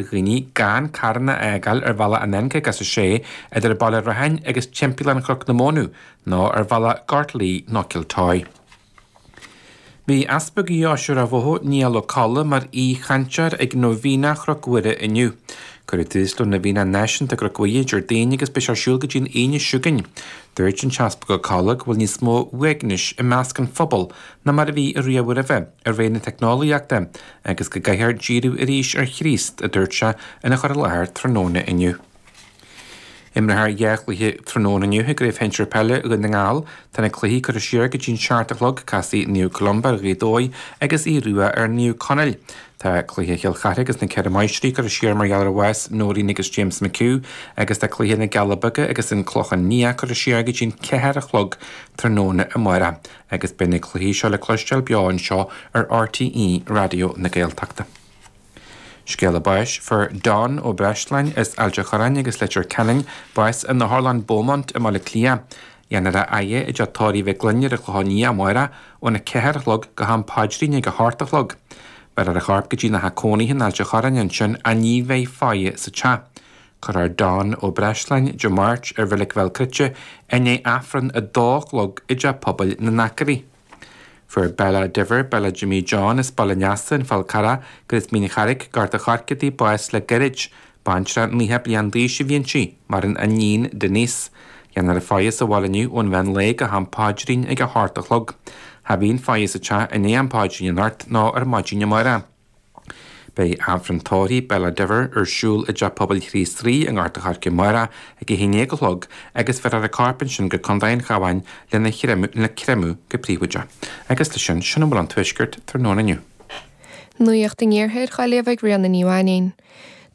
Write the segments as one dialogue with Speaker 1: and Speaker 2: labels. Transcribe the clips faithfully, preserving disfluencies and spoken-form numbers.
Speaker 1: Dhaoine gan carranna a fhágáil ar bhealach an N caoga is a sé idir Baile Rathain agus Timpeallán Chnoc na Mónadh nó ar bhealach Gort Laoi nó Cill Toí. Bhí Easpag Dheoise Ráth Bhoth, Niall Ó Colla, mar aoi-chainteoir ag Nóibhéine Chnoc Mhuire inniu. Cuireadh tús le Nóibhéine Náisiúnta Chnoc Mhuire Déardaoin agus beidh sé ar siúl go dtí an Aoine seo chugainn. Dúirt an tEaspag Ó Colla go bhfuil níos mó uaignis i measc an phobail ná mar a bhí riamh roimhe i ré na teicneolaíochta agus go gcaithfear díriú arís ar Chríost, a dúirt sé ina chur i láthair tráthnóna inniu. Imreofar dhá chluiche tráthnóna inniu i gCraobh Shinsir Peile Dhún na nGall. Tá na cluichí curtha siar go dtí an seacht a chlog, casfaidh Naomh Columba ar Ghaoth Dobhair agus Aodh Rua ar Naomh Conaill. Tá cluiche Chill Chartha agus na Ceithre Máistrí curtha siar mar gheall ar bhás Noreen agus James McHugh agus tá cluiche na gCealla Beaga agus an Clochán Liath curtha siar go dtí an ceathair a chlog tráthnóna amárach agus beidh na cluichí seo le cloisteáil beo anseo ar R T E Raidió na Gaeltachta. Scéala báis: Fuair Don Ó Breisleáin as Ailt an Chorráin agus Leitir Ceanainn bás in Otharlann Beaumont i mBaile Átha Cliath. Dhéanfar a fhaire i dTeach Tórraimh Mhic Gloinn ar an Chlochán Liath amárach óna ceathair a chlog go ham paidrín ag a hocht a chlog. Beirfear a chorp go dtí a theach cónaithe in Ailt an Chorráin ansin ach ní bheidh faire sa teach. Cuirfear Don Ó Breisleáin Dé Máirt ar Reilig Bhéal Cruite i ndiaidh Aifreann a dó a chlog i dTeach Pobail na nAcairí. Fuair Bella Diver, Bella Jimmy John as Baile Neasa, an Fál Carrach, agus Mín Charraig, Gort an Choirce di, bás le gairid. Baintreach naocha bliain d'aois a bhí inti, maireann a iníon Denise. Dhéanfar a faire sa bhaile inniu ón mheán lae go ham paidrín ag a hocht a chlog. Cha bhíonn faire sa teach i ndiaidh am paidrín anocht ná ar maidin amárach. Beidh Aifreann tórraimh Bella Diver ar siúl i dTeach Pobail Chríost Rí i nGort an Choirce amárach ag a haon déag a chlog agus bheirfear a corp ansin go Contae an Chabháin lena le créamadh go príobháideach. Agus leis sin sin a bhfuil ón tuaisceart tráthnóna inniu.
Speaker 2: Nuacht an Iarthair á léamh ag Ríona Ní Mhainín.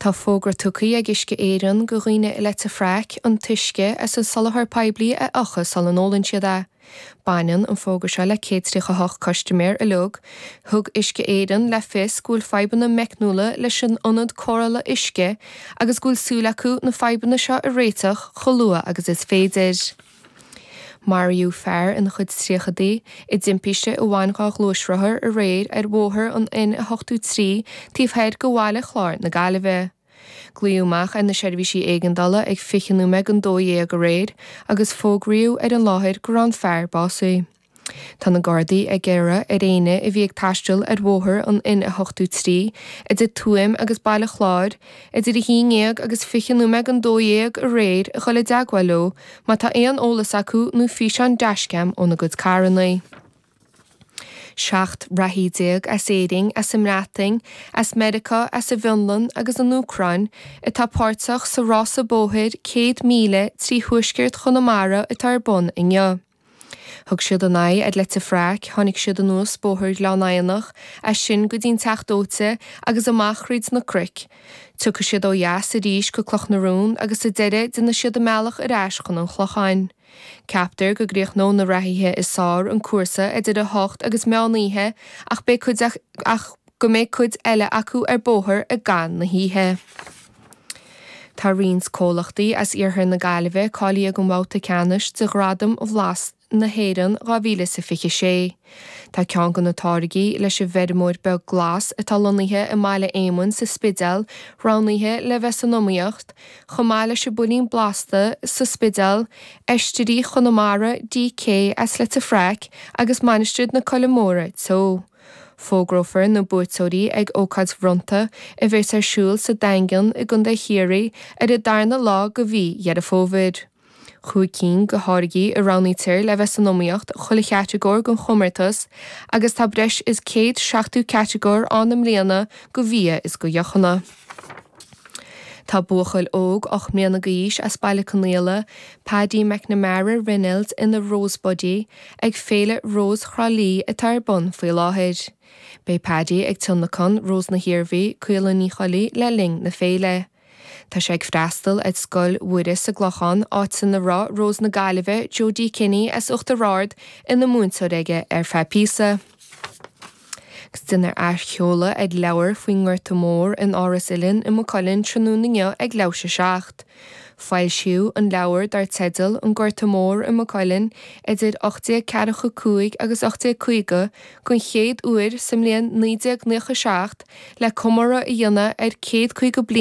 Speaker 2: Tá fógra tugtha ag Uisce Éireann go dhaoine i Leitir Fraic an t-uisce as an soláthar poiblí a fhiuchadh sula n-ólann siad é. Baineann an fógra seo le céad tríocha hocht custaiméir uilig, thug Uisce Éireann le fios go bhfuil fadhbanna meicniúla leis an ionad cóireála uisce agus go bhfuil súil acu na fadhbanna seo a réiteach chomh luath agus is féidir. Maraíodh fear ina chuid tríochadaí i dtimpiste a bhain dhá ghluaisrothar aréir ar bhóthar an N a hochtó trí taobh thoir de Bhaile Chláir na Gaillimhe. Glaodh amach ar na seirbhísí éigeandála ag fiche nóiméad don dó dhéag aréir agus fógraíodh ar an láthair go raibh an fear básaithe. Tá na Gardaí ag iarraidh ar éinne a bhí ag taisteal ar bhóthar an N a hochtó trí idir Tuaim agus Baile Chláir, idir a haon déag agus fiche nóiméad don dó dhéag aréir a chur i dteagmháil leo má tá aon eolas acu nó físeán dashcam óna gcuid carranna. Seacht reathaí déag as Éirinn, as an mBreatain, as Meiriceá, as an bhFionlainn agus an Úcráin atá páirteach sa rása bóthair céad míle trí thuaisceart Chonamara atá ar bun inniu. Thug siad a n-aghaidh ar Leitir Fraic, tháinig siad anuas bóthar Ghleann Eidhneach, as sin go dtí'n Teach Dóite agus amach thríd na cnoic. Tiocfaidh siad ó dheas arís go Cloch na Rón agus sa deireadh déanfaidh siad a mbealach ar ais chun an Chlocháin. Ceaptar go gcríochnóidh na reathaithe is fearr an cúrsa idir a hocht agus meán oíche ach beidh cuid ach go mbeidh cuid eile acu ar bóthar i gcaitheamh na hoíche. Tá roinnt comhlachtaí as iarthar na Gaillimhe cáilithe don bhabhta ceannais de Ghradam Bhlas na hÉireann dhá mhíle is a fiche sé. Tá ceann de na táirgí leis an bhfeirmeoir beag glas atá lonnaithe i mBaile Éamoinn sa Spidéal roghnaithe le bheith san iomaíocht, chomh maith leis an builín blasta sa Spidéal, Oistrí Chonamara D K as Leitir Fraic agus Mainistir na Coille Móire Teo. Fógrófar na buaiteoirí ag ócáid bhronnta a bheas ar siúl sa Daingean i gContae Chiarraí ar an darna lá de mhí Dheireadh Fómhair. Cúig cinn de tháirgí a roghnaítear le bheith san iomaíocht chuile chatagóir den chomórtas agus tá breis is céad seachtó catagóir ann i mbliana do bhia is do dheochanna. Tá buachaill óg ocht mbliana d'aois as Baile Conaola, Paddy McNamara Reynolds ina Rose Buddy ag Féile Rós Thrá Lí atá ar bun faoi láthair. Beidh Paddy ag tionlacan Rós na hIarmhí, Caola Ní Choilí le linn na féile. Tá sé ag freastal ar Scoil Mhuire sa gClochán áit ina raibh Rós na Gaillimhe Jodie Kinney as Uachtar Ard ina múinteoir aige ar feadh píosa. Agus déanfar athsheoladh ar leabhar faoin nGorta Mór in Áras Uilinn i Maigh Cuilinn tráthnóna inniu ag leathuair tar éis a seacht. Foilsíodh an leabhar dar teideal an Gorta Mór i Maigh Cuilinn idir ocht déag ceathracha cúig agus ocht déag caoga den chéad uair sa mbliain naoi déag nócha seacht le comóradh a dhéanamh ar céad caoga bliain